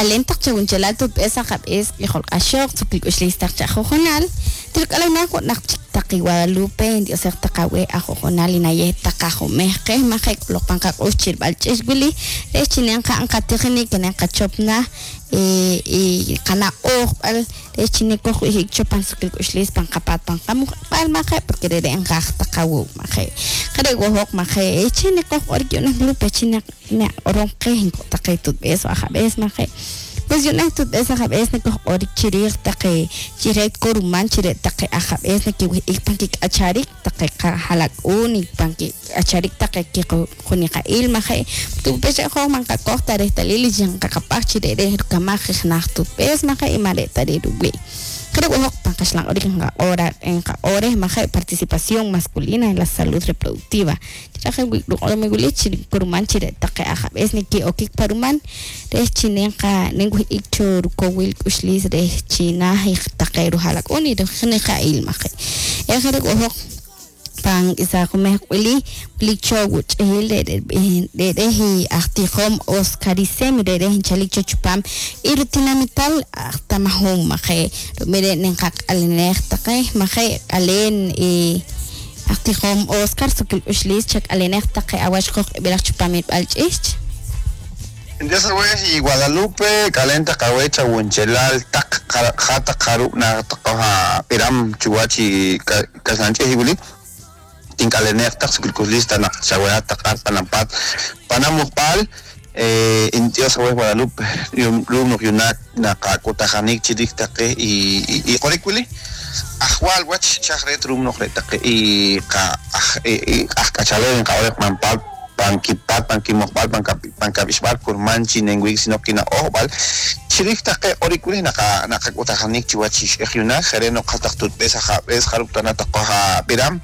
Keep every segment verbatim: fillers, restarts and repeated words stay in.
Alentaq chawunchelal tutb'es ajab'es q'ijol q'axoq tzukilk'uxlis taq chajujunal tilk'alawna naq taqi Guadalupe Diosej taqawe ajujunal inayej taqajumej qej maje k'uloq panqaq'ux chirb'al ch'ix wili rech chinen qa'an qatijinik kenen qachopna y qana ojb'al rech chinen koj wijik chopan tzukilk'uxlis pan qapat pan qamujb'al maje porque rere nqaj taqawu maje qare wojoq maje chine koj q'orik yunaj Lupe chine ne oron qej taqi tutb'es ajab'es maje pues yunaj tutb'es ajab'es ne koj q'orik chiriij taqi chirek koruman chire taqi ajab'es ne kiwijik pan kik'acharik taqi qajalak'un y pan kik'acharik taqi kiquniqa'il maje tupech joj man qakoj tarej talil y qaqapaj chirere kamaj naj tutb'es maje y mare tariruwi creo que pan kaxlan orik ora en ore maje participación masculina en la salud reproductiva chiraje wi me guli chiri koruman chire taqi ajab'es ne ki okik paruman rech chinen qa nen wijik cho rukowil k'uxlis rech chinaj taqi rujalak'un y rujniqa'il maje ejere wojoj pan isa jumej wili wili cho wuch'il re re re ajtijom Oscarisem re re chalik cho chupam y rutinamital ajtamajum maje rumire nen qaq'alinej taqe maje alen y ajtijom Oscar sukil uxlis chak alinej taqe awax qoj ib'ilaj chupam irb'al ch'ich Entonces, y Guadalupe, calenta kawecha wunchelal tak jata karu na taqoja piram chuwachi kasanche hibuli tinkalenek tak sukilkuslista na chawea tak panampat panamupal eh Dios Guadalupe rumno yunak na kakutajanik chirik taqe y y qorikwili ajwal wach chajret rumno taqe y ka aj kachale en kaorek mampal pankipat pankimojbal pankabixbal kurmanchi nenwik sino kina ojbal chirik taqe qorikwili naka nakakutajanik chiwach ixyunak jereno qataq tutb'es ajab'es jaruptana taqoja piram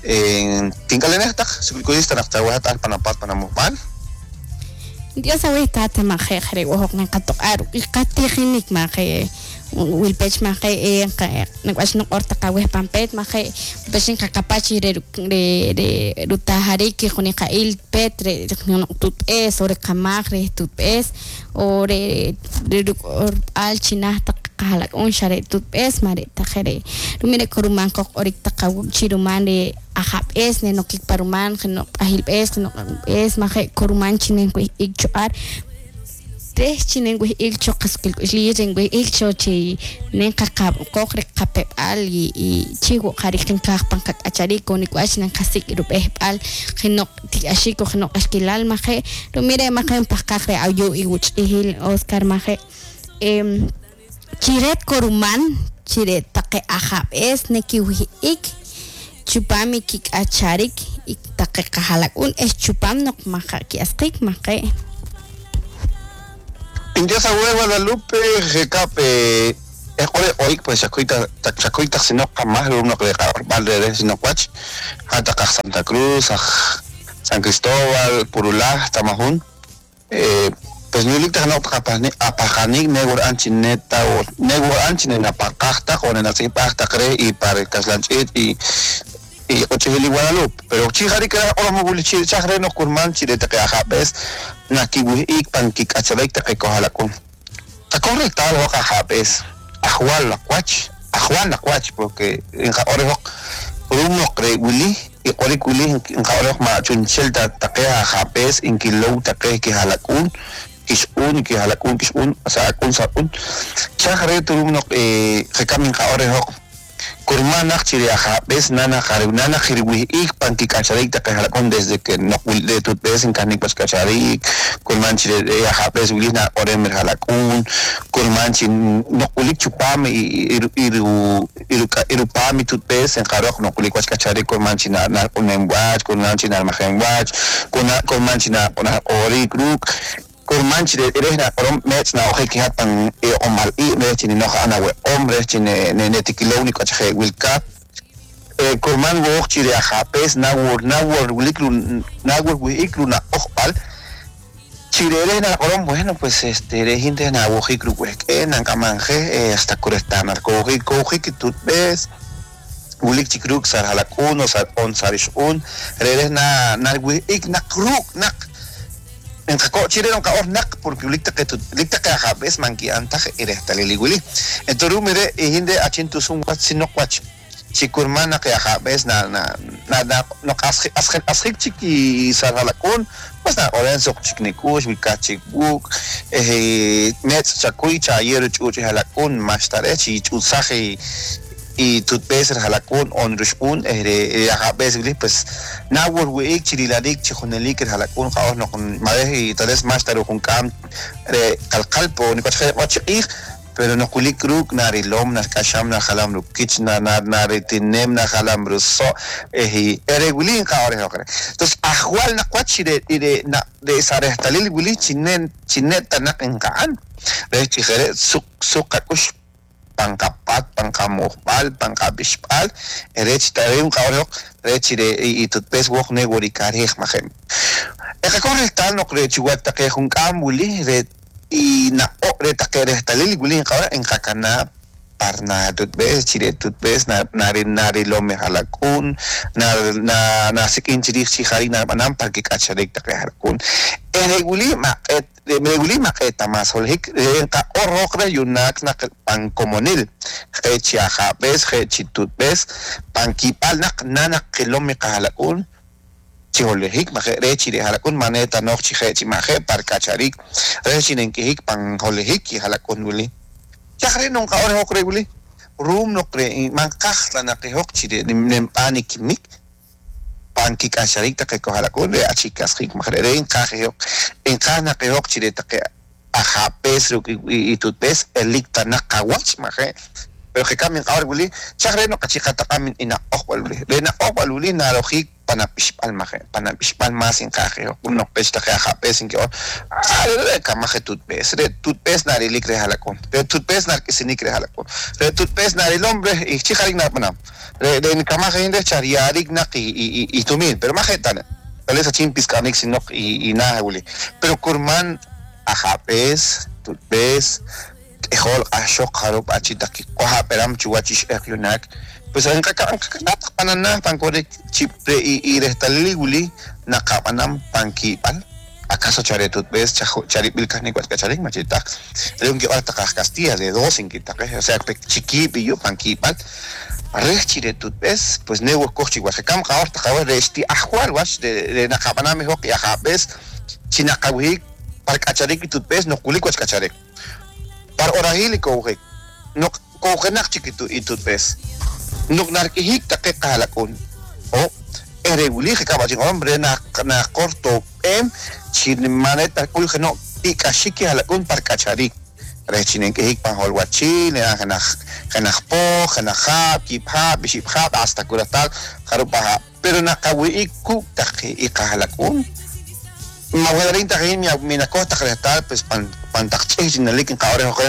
en tinkalenek taq sukilkulista naqchawahat panampat panamujbal Dios sabe tata maje jere wojok nan qatoqar y qatijinik maje wilpech maje eh nak'ax noq'or taqawej pampet maje pexin qaqapachi re re re rutajarik juniqa'il pet re tutb'es o re qamaj re tutb'es o re re al chinaj taq qajalak'un xa re tutb'es mare tajere rumire koruman qoq orik taqawu chiruman re ajab'es ne nokik paruman no p'ajilb'es no q'anb'es maje koruman chinen ik cho'ar tres chinen ik cho qasukilk'uxliyej ren ik cho chi nen qaqab qoq re qapeb'al y y chiwo qariq qaj pan qak'acharik konik'uach nen qasik rub'ejb'al jinoq tik'axik o jinoq axkilal maje rumire maje pajqaj re ayu iwuch'ijil Oscar maje em chiret koruman chiret taqe ajab'es nekiwijik chupam kik'acharik y taqe qajalak'un es chupam noq maja ki'asqik maje Dios awe Guadalupe jekape ejore oik pues chacoita chacoita sino jamás lo uno que vale sino cuach hasta Santa Cruz San Cristóbal Purulá Tamajún eh pues ni no kapani apajanik negor anchineta o negor anchinena pakajta o nena cre y para kaslanchit y y ochihili Guadalupe pero chijari que ora moguli chajre no kurman chirete que ajabes nakiwik pan kikachabek te kojalakun ta correcta lo ajabes ajual la cuach ajual la cuach porque en ore uno cree wili y ore wili en ore ma chunchel ta ta ajabes en kilo ta que jalakun kishun que jalakun kishun o sea kun sakun chajre turumno eh rekamin ore kurmanaq chiri ajab'es nana jariw nana jirwi'ik pan kik'acharik taqe jalak'un desde que no de tutb'es inkanik pas k'acharik kurman chiri ajab'es wilij na orem jalak'un kurman chi noq'ulik chupam iru iru irupam tutb'es enqaroq noq'ulik wach k'acharik kurman chi na narq'unem wach kurman chi narmajem wach kurman chi na orik ruk kurman chi de na orom mech na oje ki hatan e omal i me chi no ana we hombre chi ne ne tikilo ni kache wilka eh kurman wo chi de ajapes na wor na wor wilikru na wor wikru na ojpal chi de na orom bueno pues este de gente na wo hikru we que na kamanje hasta kurestana ko ko ki tutbes wulik chikruk sar halakun o sar on sarishun reres na na ik na kruk nak En chire no naq porque likta que likta que ajabes manki antaj irehtaliliwili. Entonces mire ihinde achintusun wat sino wach chikurmana que ajabes na na na na no asjik asjik chiki sarhalakun pues na orenzo chiknikush wilkachikbuk eh metz chakuy chayer chuchi halakun mashtare chi chutsaje y tutbes halakun on rushun eh ajabes pues nawur wiik chirilarik chijonelik halakun qaos no con madej y tales mashtaru junkam re qalqalpo ni pachij pero no kulik ruk narilom na kasham na jalam rukich na na naritinem na jalam ruso eh eregulin qaore hokre. Entonces ajual na kwachire ire na de sarehtalil guli chinen chineta na enkaan re chijere suk sukakush pankapat pankamujbal pankabishpal erech tareun qaore rechire y tutpes wok negorikarij majem eqakorre tal no crechiwat taqe junkam wuli re y na o re taqe gulin qawra en qakana parna tutbes chire tutbes na nari nari lome halakun na na na sikin chirij chijari na banam parque kacharek taqe halakun ereguli ma et reguli ma eta mas holhik en qa orroqre yunak na pan comonil qechi ajabes qechi tutbes pankipal naq nana qilome qahalakun chiholehik ma rechi de halakun maneta noch chihechi maje parkacharik rechi nenkihik pan holehik y halakun wuli chakre non ka ore hokre wuli rum no kre man kaxtla na qihok chire nempani kimik pan kikacharik taqe halakun re achikasrik maje re inkajehok inkana qihok chire taqe ajapes y tutpes elikta naqawach maje pero que kamin qawar wuli chakre no qachiqataqamin ina oqwal wuli re na oqwal wuli narojik panapishpal maje panapishpal más en caje uno pesta que ajapes en que ah re kamaje tutpes re tutpes narilik re halakon re tutpes nar que sinik re halakon re tutpes naril hombre y chijarik na panam re re kamaje inde chariarik na y y y tumin pero maje tan tal vez achimpis kanik sinok y y na wuli pero kurman ajapes tutpes ejol ashok harop achitaki koha peram chuachish ekyunak pues en kaka nat panana pankore chipre y y restaliguli nakapanam pankipal acaso charetut ves charipil kanik kacharik machita le un que hasta Castilla de dos en quita o sea chiquipillo pankipal rechiretut ves pues nego kochi guachakam qaorta qawa resti ajual wash de de nakapanam hok y ajapes chinakawi parkacharik tutbes no kulik kacharik par orahili kohe no kohenak chiquitu itutbes no narkihik taqe qalakun o ereguli kabachin hombre na na corto em chinmaneta kulje no ikashiki halakun parkacharik rechinen kihik pan holwachil na janajpo janajab kipha bishipha hasta kuratal jarupaja pero nakawi ku taqe iqahalakun Maguadarín tajin mi mi nacosta restal pues pan pan taqchij sinalik en qaore joque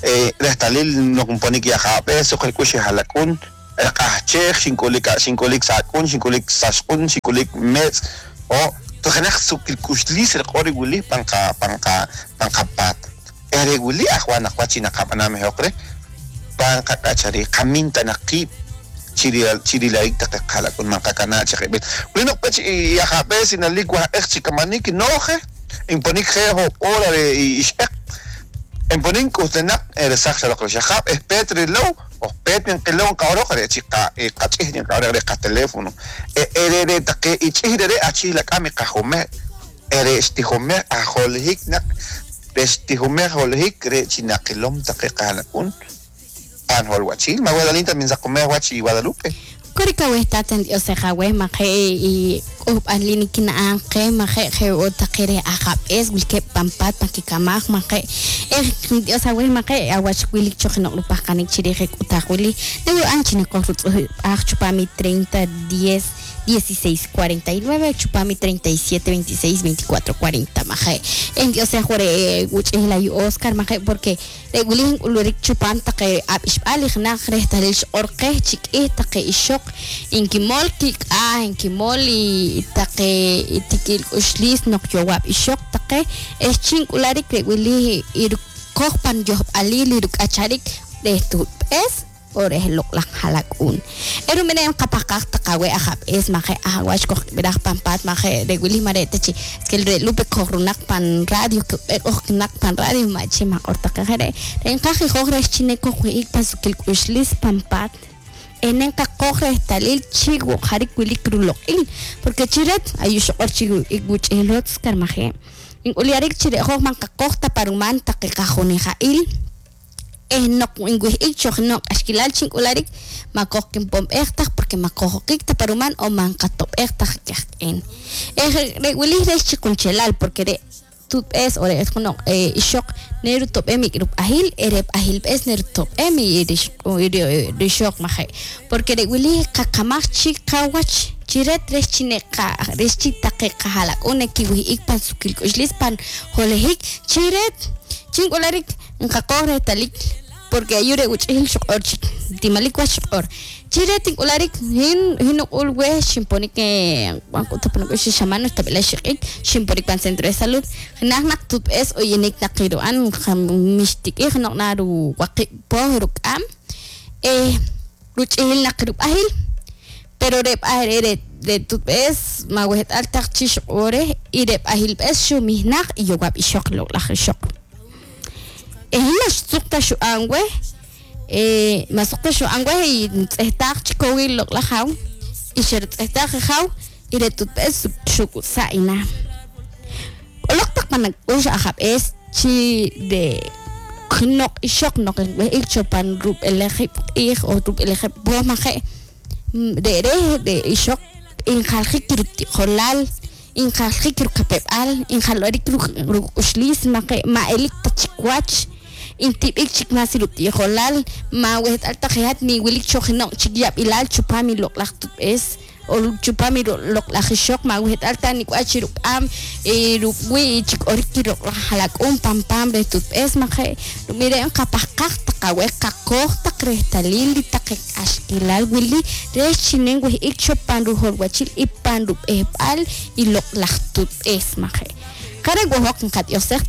eh restalil no compone que jape so que halakun qahchej xinkulik xinkulik sakun xinkulik sashqun xinkulik mets o tojenaj sukilkuxlis el qori wuli panqa panqa panqapat ere wuli ajwan ajwachina qapaname joqre panqa qachari qaminta naqib chiri chirilaik taqalakun manqakana chaqibet wuli noqpech yajapes sinalik waj'ej chikamanik noje imponik je hora de ix'eq imponik kustenaq eresaj xaloq xajab espetri low ospetri qilon qawroq re chiqa qach'ij qawroq re teléfono ere taqe ich'ij re achij lak'ami qajume ere ixtijume ajolijik naq rextijume jolijik re chinaqilom taqe qalakun pan holwachil maguadalinta minzakume wachi Guadalupe Korikawehtaten Diosejawe maje y upanlinikina anqe maje je otaqere ajapes wilke pampat pakikamaj maje eh Diosawe maje awachwilik choqinoqlupajqanik chirije k'utaqwili newi anchine qojrutz aj chupami treinta diez dieciséis cuarenta y nueve chupami treinta y siete veintiséis veinticuatro cuarenta maje en Diosejuare wuch'ijla yu Oscar maje porque regulin ulurik chupan taqe ab'ixb'alij naj rehtalil x'orqej chik'ij taqe ixoq inkimol kik'aj inkimol y taqe tikil uxlis noq yowab ixoq taqe es chink'ularik rewili irkoj pan yojb'alil iruk'acharik reh tutp'es o reh loq'laj jalak'un eru mene qapaqaj taqawe ajab'es maje ajawach kojb'iraj pan pat maje re wili mare tachi es que el re Lupe kojrunaq pan radio kojnaq pan radio machi maq'ortaqej re renqaj ijoj reh chine kojwi'ik pan sukil k'uxlis pan pat enen qaqoj reh talil chi woqjarik wilik ruloq'il porque chiret ayuxoq'or chi iguch'ilotz karmaje ink'uliarik chire'joj man qaqoj taparuman taqiqajunija'il eh no inwih'ik choj no k'axkilal chink'ularik makoj kinpomb'ej taj porque makojokik taparuman o man qatob'ej taj kajk'en eh re wilij reh chiqunchelal porque re tutb'es o re junoq ixoq neru tob'em ik'rup'ajil erep'ajil b'es neru tob'em rixoq maje porque re wilij qaqamaj chik qawach chiret reh chineqa reh chitaqe qajalak'un kiwih'ik pan sukil k'uxlis pan jolejik chiret chink'ularik nqaqoj reh talik porque ayure uch'il xoq'or chik timalik wach xoq'or chiret ink'ularik hin hin uq'ul wej xinponik wan xamano tab'ila xiq'ik xinponik pan centro de salud naj naq tutb'es oyenik naqiru'an mixtik'ij noq naru waqib' poj ruk'am eh ruch'il naqrup'ajil pero rep'aj re re tutb'es mawejet'al taq chi xoq'orej y rep'ajil b'es xumijnaq y yowab' ixoq loq'laj ixoq eh mas suqta xu'an wej eh masuqta xu'an wej y tz'ejtaq chikowil loq'laj jaw y xertz'ejtaq jaw y re tutb'es xuk'usa'ina k'oloq taq panak'ux ajab'es chi de noq ixoq noq ik chopan rub'elejib' q'ij o rub'elejib' poj maje de re de ixoq injaljik ruti'jolal injaljik rukapeb'al injalwarik ruk'uxlis maje ma'elik tachikwach intib'ik chik mas ruti'jolal ma wejet'al taq mi wilik chojinoq chik yab'ilal chupam loq'laj tutb'es o chupam loq'laj ixoq ma wejet'al tan nik'wach ruk'am ruk'wi' chik orik loq'laj jalak'un pam pam reh tutb'es maje miren qapajqaj taqawej qaqoj taq rehtalil taq k'axkilal wili reh chinen wej'ik chopan rujolwachil y pan rub'ejb'al y loq'laj tutb'es maje qare wojok nqat'iosej.